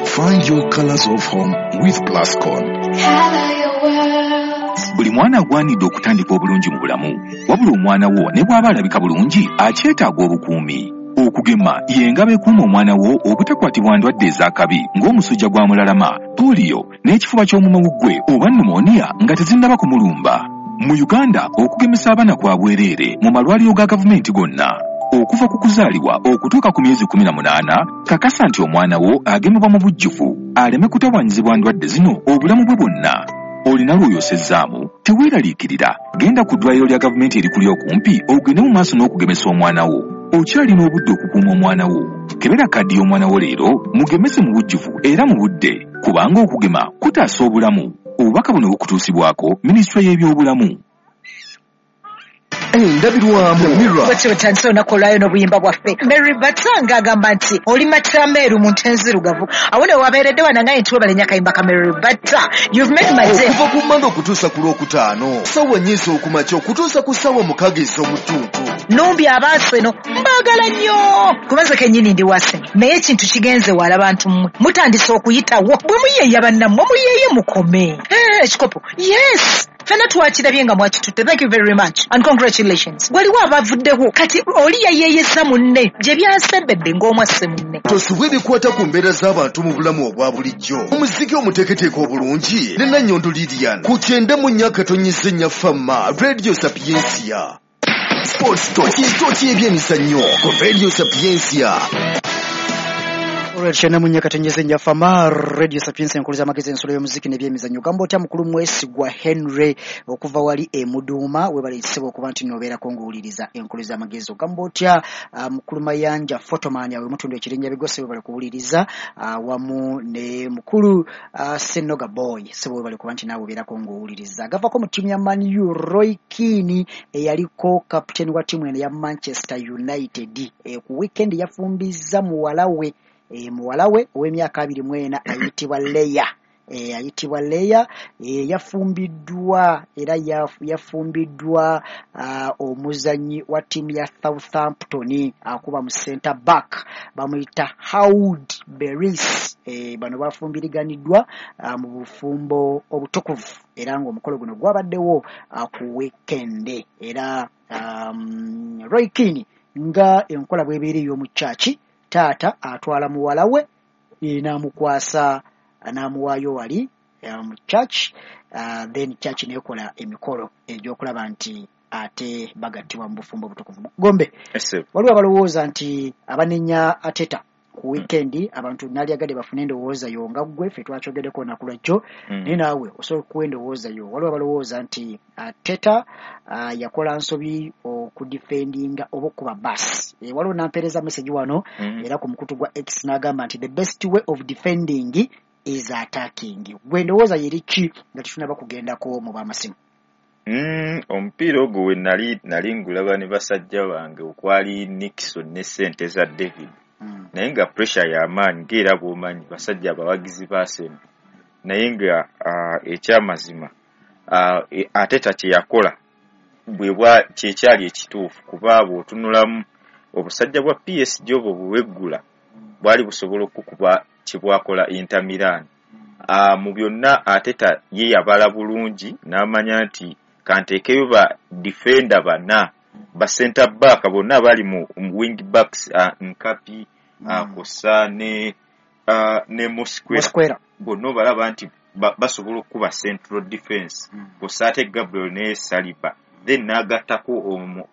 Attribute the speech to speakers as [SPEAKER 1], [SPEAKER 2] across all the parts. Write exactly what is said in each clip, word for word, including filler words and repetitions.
[SPEAKER 1] Find your colors of home with Plascon.
[SPEAKER 2] Color your world.
[SPEAKER 3] Buli mwana agwanidde okutandika obulungi mu bulamu, wabula omwana wo ne bw'aba alabika bulungi akyetaaga obukuumi. Okugema y'engabo ekuuma omwana wo obutakwatibwa ndwadde ez'akabi ng'omusujja gwa mulalama, pooliyo n'ekifuba ky'omumawuggwe oba pneumonia nga tezinnaba kumulumba. Mu Uganda okugemesa abaana kwa bwereere mu malwaliro ga gavumenti gonna. Okuva ku kuzaalibwa okutuuka ku myezi kkumi na munaana, kakasa nti omwana wo agemebwa mu bujjuvu aleme kutawaanyizibwa ndwadde zino obulamu bwe bwonna. Olina lw'oyosezzaamu, teweeraliikirira, genda ku ddwaliro lya gavumenti erikuli okumpi ogende mu maaso n'okugemesa omwana wo. Okyalina obudde okukuuma omwana wo. Kebera kaddi y'omwana wo leero, mugemese mu bujjuvu era mu budde, kubanga okugema kutaasa obulamu. Obubaka buno bukutuusibwako Minisitule y'Ebyobulamu.
[SPEAKER 4] Endabirwamu Mirror.
[SPEAKER 5] Bwetyo bwetandise olunaku olwayo n'obuyimba bwaffe. Mary Batanga agamba nti oli matameeru mu nte enzirugavu. Awo ne wabeeredde wanangaye nti webale nnyo akayimba ka Mary Bata. You've made my day.
[SPEAKER 4] Okuva ku Mmande okutuusa ku Lwokutaano, ssaawa nnya ez'okumakya okutuusa ku ssaawa mukaaga ez'omutuntu.
[SPEAKER 5] Numbi abaaseno mbaagala nnyo. Kubanze kennyini ndi Arsenal. Naye ekintu kigenze wala bantu mmwe. Mutandise okuyitawo. Bwe muyeeya bannammwe muyeeye mukome. Eh, ekikopo. Yes. Ffenna twakirabye nga mwakitutte. Thank you very much and congratulations. Waliwo abavuddewo kati oli yayeeyeza munne gye byasembedde ng'omwasse munne.
[SPEAKER 4] Tosubwa ebikwata ku mbeera z'abantu mu bulamu obwa bulijjo. Omuziki omuteeketeeke obulungi ne Nannyondo Lilian ku kyenda mu nnya akatonyeza ennya Fama Radio Sapientia. Sports Toki Toki ebyemizannyo ku Radio Sapientia.
[SPEAKER 6] Olwekyo namunya katonyeze nja Fama Radio Sapientia enkuluza amagezi ensolo y'omuziki n'ebyemizannyo. Gamba otya mukulu Mwesigwa Henry okuva wali e Muduuma, webale ekisebo okuba nti n'obeerako ng'owuliriza enkuluza amagezi. Ogamba otya uh, mukulu Mayanja Photoman awe mutundu ekirinnya bigose, webale kuwuliriza uh, wamu ne mukulu uh, Senoga Boy sebo, webale kuba nti naawe obeerako ng'owuliriza. Gavako mu ttiimu ya Man U Roy Keane eyaliko kapiteeni wa ttiimu eno ya Manchester United e, ku weekend yafumbizza muwala we e, muwala we ow'emyaka abiri mu ena ayitibwa Leya e, ayitibwa Leya e, yafumbiddwa era yafumbiddwa uh, omuzannyi wa ttiimu ya Southampton akuba mu center back bamuyita Howard Beris. E, bano bafumbiriganiddwa uh, mu bufumbo obutukuvu era ng'omukolo guno gwabaddewo uh, ku weekend. Era um, Roy Keane nga enkola bw'ebeera ey'omu church, taata atwala muwala we n'amukwasa n'amuwaayo wali mu church, uh, then church neekola emikolo egy'okulaba nti ate bagattibwa mu bufumbo obutukuvu. Gombe, waliwo abalowooza nti abanenya Arteta ku weekend, abantu naalyagadde bafune endowooza yo nga ggwe, ffe twakyogeddeko olunaku lwajjo, naye naawe osobola okuwa endowooza yo. Waliwo abalowooza nti Arteta uh, yakola nsobi okudefendinga oba okuba bus. E, waliwo nampeereza message wano mm. era ku mukutu gwa X n'agamba nti the best way of defending is attacking. Gwe endowooza yeri ki nga tetunaba kugendako mu b'amasimu?
[SPEAKER 7] Mm, omupiira ogwo we nali nali ngulaba ne basajja bange okwali Nixon ne ssente za David. Mm. Naye nga pressure y'amaanyi ng'era bw'omanyi basajja abawagizi ba Arsenal, naye nga uh, ekyamazima uh, Arteta kye yakola bwe bwa kyekyali ekituufu, kuba bw'otunulamu obusajja bwa P S G obwo bweweggula bwali busobola okukuba kye bwakola Inter Milan. Uh, mu byonna Arteta ye yabala bulungi n'amanya nti kanteekeyo ba defender bana ba center back bonna bali mu wing backs uh, Nkapi uh, Kosa ne uh, ne Mosquera bonna balaba nti basobola okukuba central defense mm. Kosa ate Gabriel ne Saliba, then n'agattako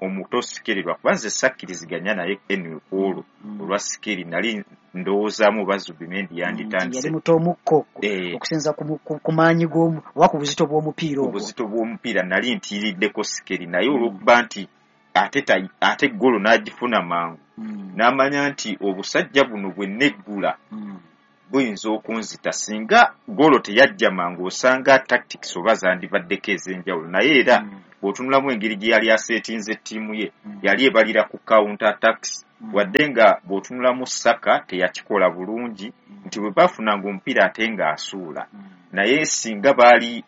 [SPEAKER 7] omuto Sikeri, lwakuba nze sakkiriziganya naye anyway ku olwo mm. olwa Sikeri nali ndowoozaamu oba Zubimendi yanditandise.
[SPEAKER 6] Yali muto omukko okusinza ku maanyi oba ku buzito bw'omupiira ogwo.
[SPEAKER 7] Obuzito bw'omupiira nali ntiiriddeko Sikeri, naye olw'okuba nti ate ate ggolo n'agifuna mangu mm. n'amanya nti obusajja buno bwe neggula mm. buyinza okunzita singa ggolo teyajja mangu, osanga tactics oba zandibaddeko ez'enjawulo. Naye era mm. bw'otunulamu engeri gye yali aseetinze ttiimu ye mm. yali ebalira ku counter attacks mm. wadde nga bw'otunulamu Saka teyakikola bulungi mm. nti bwe baafunanga omupiira ate ng'asuula mm. naye singa baali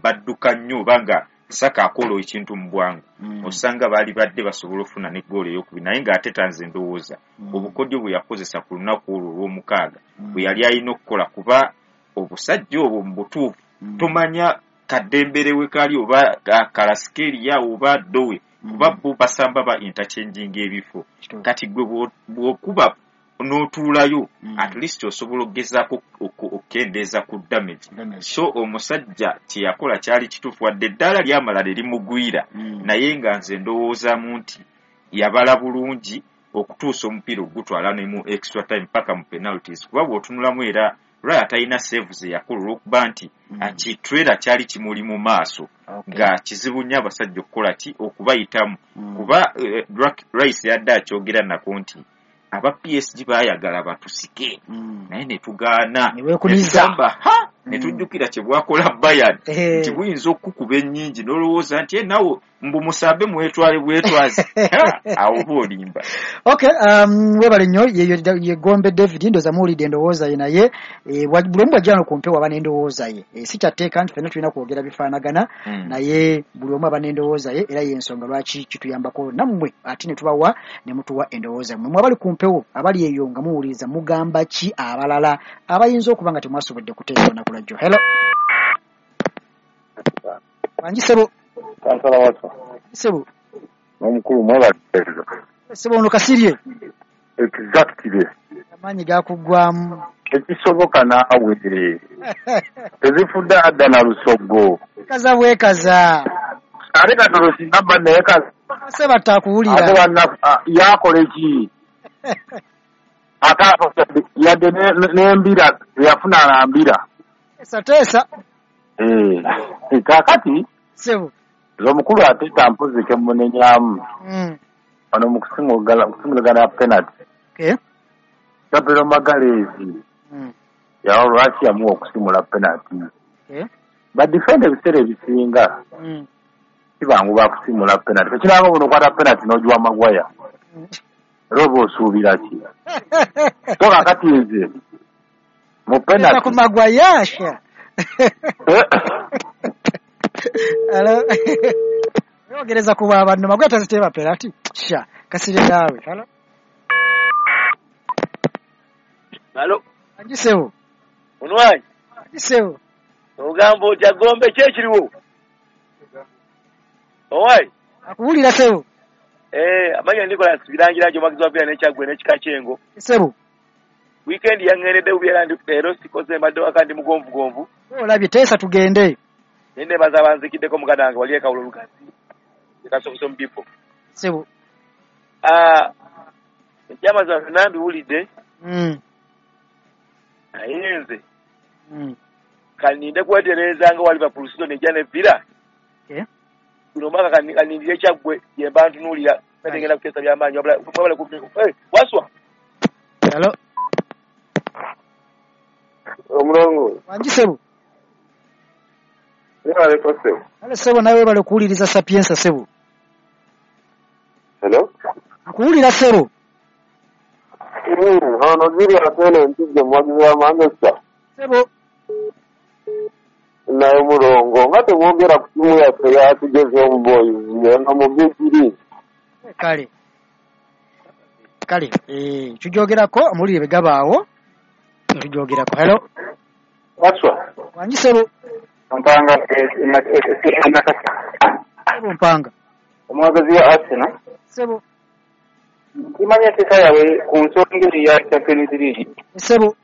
[SPEAKER 7] badduka nnyo oba nga Saka akola ekintu mu bwangu
[SPEAKER 6] Mm.
[SPEAKER 7] osanga baali badde basobola ofuna ne goolo eyokubiri, naye ng'Arteta nze ndowooza
[SPEAKER 6] Mm.
[SPEAKER 7] obukodyo bwe yakozesa ku lunaku olwo olw'omukaaga
[SPEAKER 6] Mm.
[SPEAKER 7] bwe yali alina okukola, kuba obusajja obwo mu butuufu
[SPEAKER 6] Mm.
[SPEAKER 7] tomanya kaddembere we kali oba Kvaratskhelia oba Dowe,
[SPEAKER 6] Mm.
[SPEAKER 7] kuba bo basamba ba interchanging ebifo.
[SPEAKER 6] Kituufu.
[SPEAKER 7] Kati gwe bw'o- bw'okuba n'otuulayo,
[SPEAKER 6] Mm.
[SPEAKER 7] at least osobola okugezaako okukendeeza ku damage.
[SPEAKER 6] Damage.
[SPEAKER 7] So omusajja kye yakola kyali kituufu, wadde eddaala lyamala ne limugwira,
[SPEAKER 6] Mm.
[SPEAKER 7] naye nga nze ndowoozaamu nti yabala bulungi okutuusa omupiira ogutwala ne mu extra time paka mu penalties, kuba bw'otunulamu era Raya talina save ze yakola olw'okuba nti
[SPEAKER 6] Mm.
[SPEAKER 7] kitrera kyali kimuli mu maaso,
[SPEAKER 6] Okay.
[SPEAKER 7] nga kizibu nnyo abasajja okukola ki okubayitamu,
[SPEAKER 6] Mm.
[SPEAKER 7] kuba eh, Rice yadde akyogera nako nti aba P S G baayagala batusike,
[SPEAKER 6] Mm.
[SPEAKER 7] naye ne tugaana,
[SPEAKER 6] Ne weekuniza.
[SPEAKER 7] ne tugamba, ha, ne
[SPEAKER 6] Mm.
[SPEAKER 7] tujjukira kye bwakola Bayern,
[SPEAKER 6] Eh.
[SPEAKER 7] nti buyinza okukuba ennyingi n'olowooza nti nawe mbu musambe mwetwale bwetwazi. Ha, awo oba olimba.
[SPEAKER 6] Okay, um, webale nnyo, ye, ye, ye Gombe David, ndowooza muwulidde endowooza ye, naye eh, buli omu bw'ajja wano ku mpewo aba n'endowooza ye. Eh, si kyatteeka nti ffenna tulina kwogera bifaanagana,
[SPEAKER 7] Mm.
[SPEAKER 6] naye buli omu aba n'endowooza ye, era y'ensonga lwaki kituyambako nammwe ate ne tubawa ne mutuwa endowooza mmwe. Mwe abali ku mpewo, abali eyo nga muwuliriza, mugamba ki abalala abayinza okuba nga temwasobodde kuteesa olunaku lwa jjo? Hello. Wangi ssebo.
[SPEAKER 8] Kansala Waswa.
[SPEAKER 6] Ssebo.
[SPEAKER 8] N'omukulu mwebateeza.
[SPEAKER 6] Ssebo ono Kasirye.
[SPEAKER 8] Exactly.
[SPEAKER 6] Amaanyi gakuggwamu.
[SPEAKER 8] Tekisoboka naawe. Tezifudde adda na lusogo.
[SPEAKER 6] Kaza bwekaza.
[SPEAKER 8] Ate katono singa mba neekaza.
[SPEAKER 6] Ssebatta akuwulira.
[SPEAKER 8] Ate banna yakola ki? Ate yadde n'embira yafuna na mbira.
[SPEAKER 6] Teesa teesa.
[SPEAKER 8] Eh, kaakati
[SPEAKER 6] Ssebo.
[SPEAKER 8] Omukulu Arteta mpozi ke mmunenyamu.
[SPEAKER 6] Mm.
[SPEAKER 8] Wano mu kusimulagana penalty.
[SPEAKER 6] Okay.
[SPEAKER 8] Gabriel Magalhaes.
[SPEAKER 6] Mm.
[SPEAKER 8] Yawa lwaki yamuwa okusimula penalty.
[SPEAKER 6] Okay.
[SPEAKER 8] Ba defender ebiseera ebisinga
[SPEAKER 6] Mm.
[SPEAKER 8] si bangu ba kusimula penalty. Tekiranga buno okwata penalty n'ogiwa Maguire.
[SPEAKER 6] Mm.
[SPEAKER 8] Era oba osuubira ki? So kaakati nze mu penalty.
[SPEAKER 6] Ku Maguire sha. Hello. Ogereza kuba abantu Maguire taziteeba penalty. Sha, Kasirye naawe. Hello.
[SPEAKER 9] Hello.
[SPEAKER 6] Anji ssebo.
[SPEAKER 9] Onwanyi.
[SPEAKER 6] Anji ssebo.
[SPEAKER 9] Ogamba otya Gombe ki ekiriwo? Owayi.
[SPEAKER 6] Akuwulira ssebo.
[SPEAKER 9] Eh, amanya Nicholas Birangira omuwagizi wa Villa n'Ekyaggwe n'ekika ky'Engo.
[SPEAKER 6] Ssebo.
[SPEAKER 9] Weekend yaŋŋendedde bubi era ndi leero sikoze mbadde waka ndi mugonvugonvu.
[SPEAKER 6] Olabye teesa tugende.
[SPEAKER 9] Naye nneebaza abanzikiddeko muganda wange wali e Kawulo Lugazi. Kasoboso mu Bipo.
[SPEAKER 6] Ssebo.
[SPEAKER 9] Ah, ekyamazima byonna mbiwulidde.
[SPEAKER 6] Mm.
[SPEAKER 9] Naye nze
[SPEAKER 6] Mm.
[SPEAKER 9] kaninde kwetereeza nga wa Liverpool season ejja ne Villa.
[SPEAKER 6] Okay.
[SPEAKER 9] Guno omwaka kanindire Kyaggwe gye mba ntunuulira. Ngenda kuteesa by'amaanyi wabula wabula ku eh Waswa.
[SPEAKER 6] Hello.
[SPEAKER 8] Omulongo.
[SPEAKER 6] Wangi ssebo.
[SPEAKER 8] Webaleko ssebo.
[SPEAKER 6] Ale ssebo nawe webale okuwuliriza Sapienza ssebo.
[SPEAKER 8] Hello.
[SPEAKER 6] Akuwulira ssebo.
[SPEAKER 8] Mm, ono Julius eno Mpijja omuwagizi wa Manchester.
[SPEAKER 6] Ssebo.
[SPEAKER 8] Naye omulongo nga temwogera ku ttiimu yaffe yatugeze omuboyizi eno mu Big League.
[SPEAKER 6] Kale. Kale, eh tujogerako amulire begabaawo. Tujogerako. Hello.
[SPEAKER 8] Waswa.
[SPEAKER 6] Wangi ssebo.
[SPEAKER 8] Mpanga Nakasa.
[SPEAKER 6] Ssebo Mpanga.
[SPEAKER 8] Omuwagizi wa Arsenal.
[SPEAKER 6] Ssebo.
[SPEAKER 8] Kimanya enteeka yaabwe ku nsonga eyo ya Champions League.
[SPEAKER 6] Ssebo.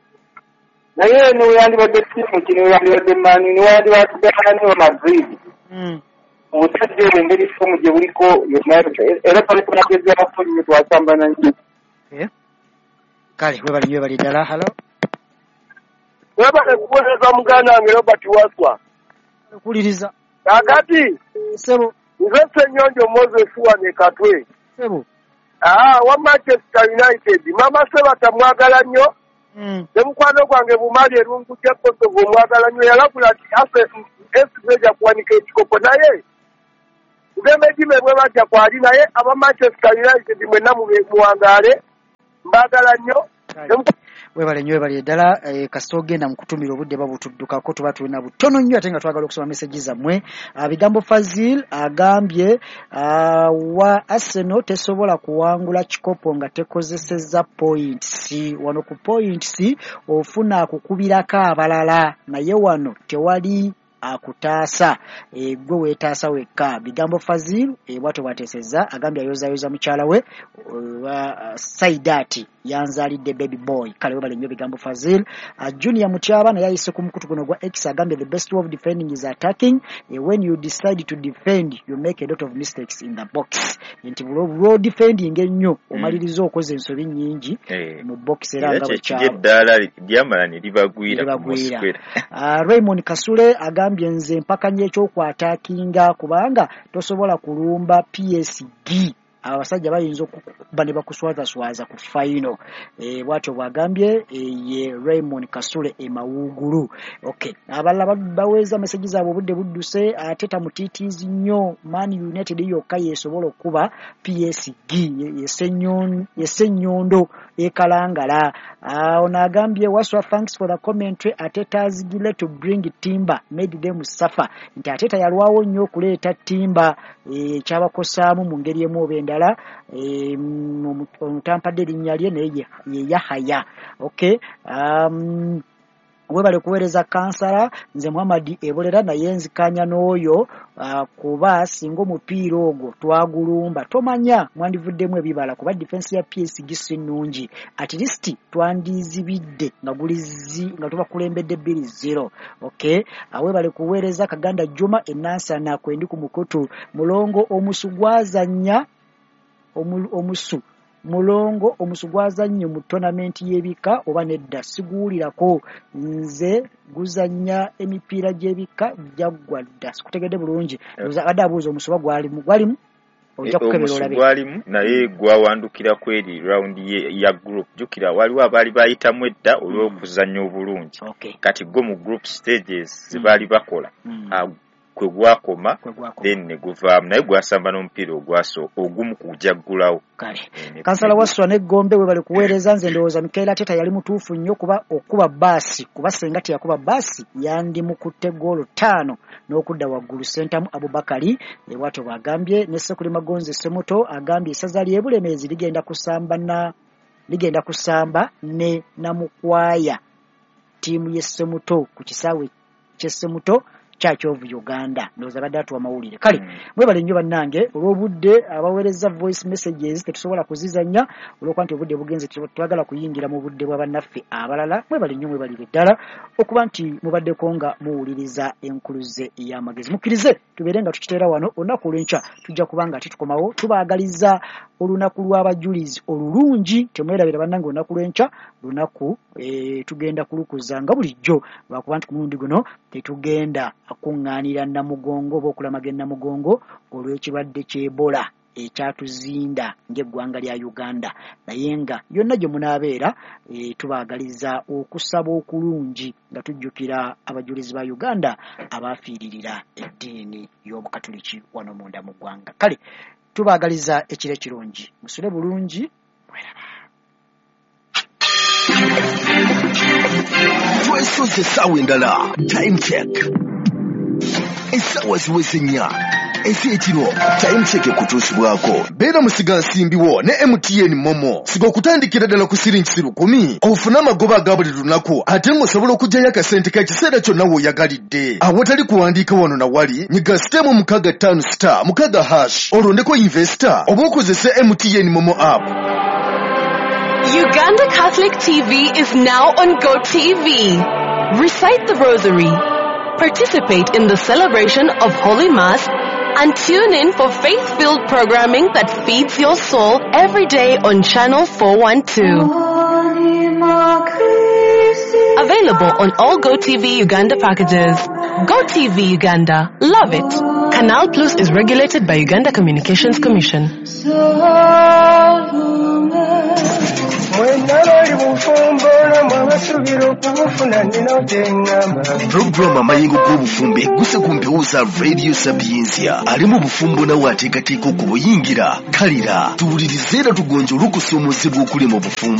[SPEAKER 8] Naye ne weyandibadde ttiimu ki, ne weyandibadde Man U, ne weyandibadde ani wa Madrid.
[SPEAKER 6] Mm.
[SPEAKER 8] Obusajja obwo engeri ffomu gye buliko yonna era twali tunagezaako nnyo twasambana nnyo.
[SPEAKER 6] Okay. Kale webale nnyo webale ddala. Hello.
[SPEAKER 9] Webale kuweereza muganda wange Robert Waswa.
[SPEAKER 6] Okuwuliriza.
[SPEAKER 9] Kaakati.
[SPEAKER 6] Ssebo.
[SPEAKER 9] Nze Ssenyonjo Moses wane Katwe.
[SPEAKER 6] Ssebo.
[SPEAKER 9] Ah, wa Manchester United. Mama Sebata mwagala nnyo.
[SPEAKER 6] Mm.
[SPEAKER 9] Ne mukwano gwange Bumali Erungu gya Kosovo mwagala nnyo, yalabula nti F C ejja kuwanika ekikopo, naye Ugembe gime bwe bajja kwali, naye aba Manchester United mwenna muwangaale, mbaagala nnyo.
[SPEAKER 6] Webale nnyo, webale ddala. eh, kasita ogenda mu kutumira obudde babutuddukako, tuba tulina butono nnyo ate nga twagala okusoma meseji zammwe. Ah, bigambo Fazil agambye ah, wa Arsenal tesobola kuwangula kikopo nga tekozesezza points. Wano ku points ofuna akukubirako abalala, naye wano tewali akutaasa, e, gwe weetaasa wekka. Bigambo Fazil e, bwatyo bwateesezza, agambye ayozayoza mukyala we uh, Saidati yanzalidde baby boy. Kale webale nnyo Bigambo Fazil. uh, Junior Mutyaba naye ayise ku mukutu guno gwa X, agambye the best way of defending is attacking. uh, when you decide to defend you make a lot of mistakes in the box, nti bw'o defending ennyo omaliriza okoze ensobi nnyingi
[SPEAKER 7] Eh,
[SPEAKER 6] mu box, era
[SPEAKER 7] era
[SPEAKER 6] nga
[SPEAKER 7] kyekiri
[SPEAKER 6] bwekyaba
[SPEAKER 7] eddaala lyamala ne libagwira ku
[SPEAKER 6] libagwira.
[SPEAKER 7] Mosquera.
[SPEAKER 6] Uh, Raymond Kasule agambye nze mpakanya eky'okwataakinga kubanga tosobola kulumba P S G, abasajja bayinza okukuba ne bakuswazaswaza ku final. E, bw'atyo bw'agambye e, ye Raymond Kasule e Mawugulu. Okay, abalala baweeza meseji zaabwe, obudde budduse, ate tamutiitiizi nnyo. Man United yokka yeesobola okuba P S G, yesennyondo ekalangala. Ono agambye Waswa, thanks for the commentary. Arteta's delay to bring Timber made them suffer, nti Arteta yalwawo nnyo okuleeta Timber, ekyabakosaamu mu ngeri emu oba endala. Omutampadde erinnya lye naye ye Yahaya. Okay, um, webale kuweereza kansala. Nze Muhammad Ebolera, naye nzikanya n'oyo uh, kuba singa omupiira ogwo twagulumba tomanya mwandivuddemu ebibala, kuba defense ya P S G si nnungi, at least twandizibidde nga gulizi nga tubakulembedde bbiri zero. Okay, webale kuweereza Kaganda Juma Enansana kwendi ku mukutu. Mulongo omusu gwazannya omusu mulongo omusu gwazannye mu tournament y'ebika oba nedda siguwulirako, nze guzannya emipiira gy'ebika gyaggwa dda. Sikutegedde bulungi, abadde abuuza omusu gwalimu gwalimu ojja kukebera olabe.
[SPEAKER 7] Gwalimu naye gwawandukira kweri round ya group. Jjukira waliwo abaali bayitamu edda olw'okuzannya obulungi, kati gwo mu group stages ze baali bakola kwe gwakoma, then ne guvaamu, naye gwasamba n'omupiira ogwaso ogumu kujaggulawo.
[SPEAKER 6] Kale kansala Waswa ne Gombe webale kuweereza. Nze ndowooza Mikel Arteta yali mutuufu nnyo kuba okuba baasi, kuba senga teyakuba baasi yandimukutte ggoolo ttaano n'okudda waggulu. Sentamu Abubakari bw'atyo bw'agambye. Ne Sekuli Magonzi Semuto agambye essaza ly'e Bulemeezi ligenda kusamba na ligenda kusamba ne Namukwaya ttiimu y'e Semuto ku kisaawe ky'e Semuto Church of Uganda. Ndowooza badde atuwa mawulire. Kale mwebale nnyo bannange olw'obudde, abaweereza voice messages tetusobola kuzizannya olw'okuba nti obudde bugenze, twagala kuyingira mu budde bwa bannaffe abalala. Mwebale nnyo, mwebalire ddala okuba nti mubaddeko nga muwuliriza enkuluze y'amagezi. Mukkirize tubeere nga tukiteera wano olunaku olw'enkya, tujja kuba nga tetukomawo. Tubaagaliza olunaku lw'abajulizi olulungi. Temwerabira bannange, olunaku lw'enkya lunaku e, tugenda kulukuza nga bulijjo, lwakuba nti ku mulundi guno tetugenda akuŋŋaanira Namugongo oba okulamaga Namugongo olw'ekirwadde ky'Ebola ekyatuzinda ng'eggwanga lya Uganda. Naye nga yonna gye munaabeera e, tubaagaliza okusaba okulungi nga tujjukira abajulizi ba Uganda abaafiiririra eddiini y'Obukatuliki wano munda mu ggwanga. Kale tubaagaliza ekiro ekirungi, musule bulungi, mweraba.
[SPEAKER 4] Twesoze essaawa endala, time check. Essaawa ziweze nnya ez'ekiro, time check ekutuusibwako. Beera musigansimbiwo ne M T N Momo. Siga okutandikira ddala ku siringi lukumi ofune amagoba aga buli lunaku, ate ng'osobola okuggyayo akasente k'ekiseera kyonna w'oyagalidde. Awatali kuwandiika wano na wali, nyiga sitemu mukaaga ttaano star mukaaga hash olondeko investor oba okozese M T N Momo app.
[SPEAKER 10] Uganda Catholic T V is now on GoTV. Recite the Rosary, participate in the celebration of Holy Mass, and tune in for faith-filled programming that feeds your soul every day on Channel four one two. Available on all GoTV Uganda packages. GoTV Uganda. Love it. Canal Plus is regulated by Uganda Communications Commission.
[SPEAKER 4] Programu amayengo g'obufumbo egguse ku mpewo za Radio Sapientia. Ali mu bufumbo nawe ateekateeka okubuyingira. Kalira tuwulirize era tugonjole okusoomozebwa okuli mu bufumbo.